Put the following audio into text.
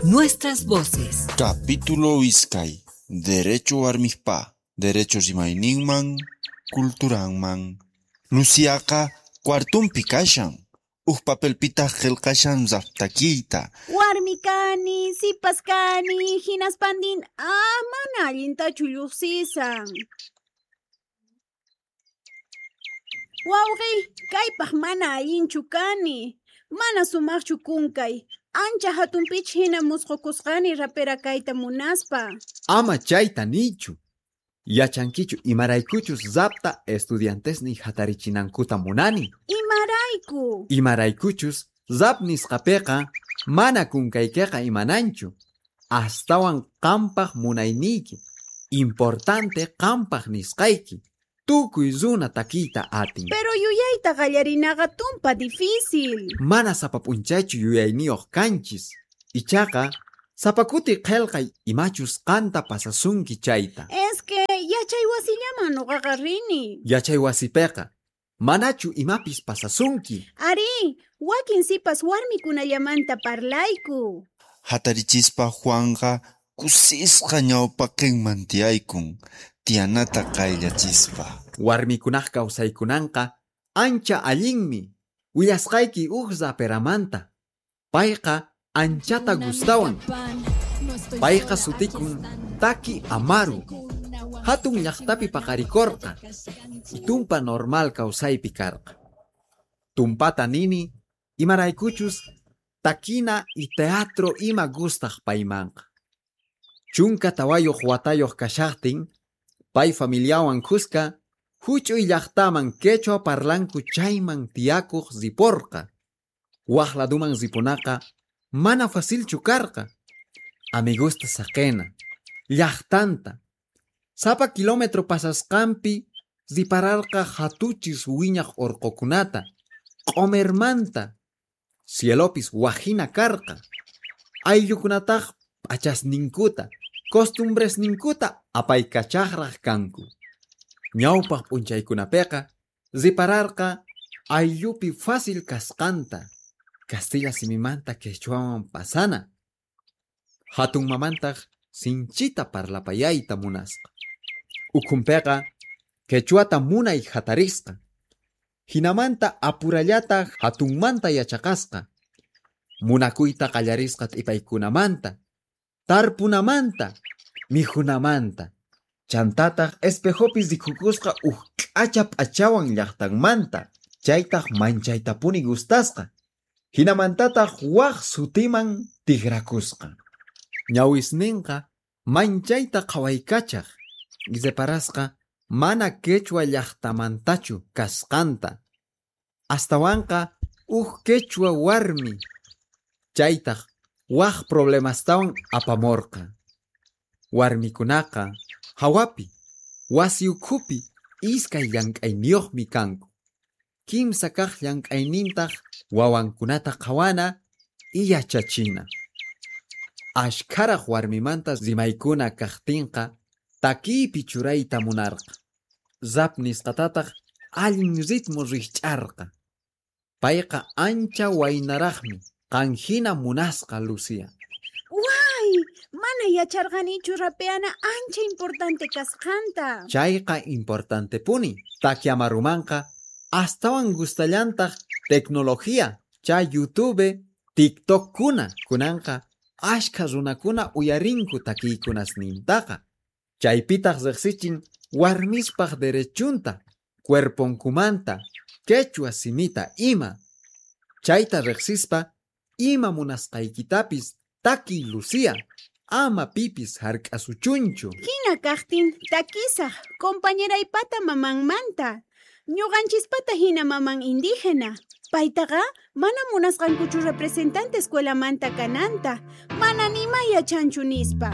Nuestras voces. Capítulo iskay. Derecho warmispa, derecho rimayninman, culturanman. Luciaqa cuartumpi kashan. Uj papelpitaq qillqashan rap takiyta. Warmi kani, sipas kani, hinaspandin mana allintachu lluqsisan. Wawqiy, kaypaq mana allinchu kani. Mana sumaqchu kunkay. Ancha hatunpich hina musqukusqani rapera kayta munaspa. Ama chayta niychu. Yachankichu imaraykuchus rapta estudiantesniy hatarichinankuta munani. Imarayku. Imaraykuchus rap nisqapiqa mana kunkaykiqa imananchu. Astawan qampaq munayniyki. Importante qampaq nisqayki. Tukuy runa takiyta atin. Pero yuyayta qallarinaqa tumpa difícil. Mana sapa p'unchaychu yuyayniyuq kanchis. Ichaqa sapa kuti qillqay imachus qanta pasasunki chayta. Es que yachay wasillaman nuqaqa rini. Yachay wasipiqa manachu imapis pasasunki. Ari, wakin sipas warmikunallamanta parlayku. Hatarichispa Juanqa kusisqa ñawpaqinman tiyaykun, tiyanata qayllachispa. Warmikunaq kawsaykunanqa ancha allinmi. Willasqayki uj raperamanta. Payqa anchata gustawan. Payqa sutikun Taki Amaru. Hatun llaqtapi paqarikurqa. Tumpa normal kawsaypi karqa. Tumpata nini imaraykuchus takina y teatro ima gustaq paymanqa. 14 watayuq kashaqtin pay familiawan kuska huch'uy llaqtaman quechua parlanku chayman tiyakuq riporqa. Waq laduman ripunaqa mana facilchu karqa. Amigusta saqena, llaqtanta. Sapa kilómetro pasasqanpi ripararqa hatuchis wiñaq urqukunata, q'umirmanta. Cielopis wajina karqa. Ayllukunataq p'achasninkuta, costumbresninkuta apaykachaqraq kanku. Ñawpaq p'unchaykunapiqa ripararqa ayllupi fácil kasqanta, castilla simimanta quechuaman pasana. Hatun mamantaq sinchita parlapayayta munasqa. Ukhunpiqa quechuata munay hatarisqa. Hinamanta apurallata hatunmanta yachaqasqa. Munakuyta qallarisqa t'ipaykunamanta, tarpunamanta, mikhunamanta. Chantataq espejopi rikukusqa uj k'acha p'achawan llaqtanmanta, chaytaq manchaytapuni gustasqa. Hinamantataq waq sutiman tikrakusqa. Ñawisninqa manchayta qhawaykachaq, reparasqa mana quechua llaqtamantachu kasqanta. Astawanqa uj quechua warmi. Chaytaq waq problemastawan apamurqa. Warmikunaqa hawapi, wasi ukhupi iskay llank'ayniyuqmi kanku. Kimsa kaq llank'aynintaq wawankunata qhawana y yachachina. Ashkharaq warmimanta rimaykuna kaqtinqa takiypi churayta munarqa. Rap nisqatataq allin ritmo rikch'arqa. Payqa ancha waynaraqmi, qanhina munasqa Lucía. Way, mana yacharqanichu rapeana ancha importante kasqanta. Chayqa importantepuni. Taki Amarumanqa astawan gustallantaq tecnología, chay YouTube, TikTokkuna, kunanqa ashkha runakuna uyarinku takiykunasnintaqa. Chaypitaq riqsichin warmispaq derechunta, cuerponkumanta, quechua simita ima. Chayta riqsispa ima munasqaykitapis takiy Lucía, ama pipis hark'asuchunchu. Hina kaqtin takisaq compañeraypata mamanmanta. Ñuqanchispata hina maman indígena. Paytaqa mana munasqankuchu representante escuelamanta kananta. Mana nima yachanchu nispa.